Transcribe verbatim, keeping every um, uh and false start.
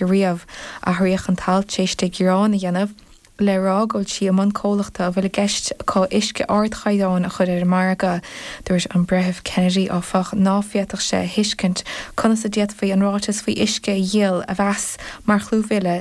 riamh. Athraíodh an t-alt tar éis di gearán a dhéanamh le rá go bhfuil sí i mbun comhlachta a bhfuil i gceist acu uisce ardchaighdeáin a chur ar an margadh. Dúirt an Breitheamh Kennedy áfach ná féadfadh sé a thuiscint conas a d'fhéadfaí an ráiteas faoi uisce a dhíol a mheas mar chlúmhilleadh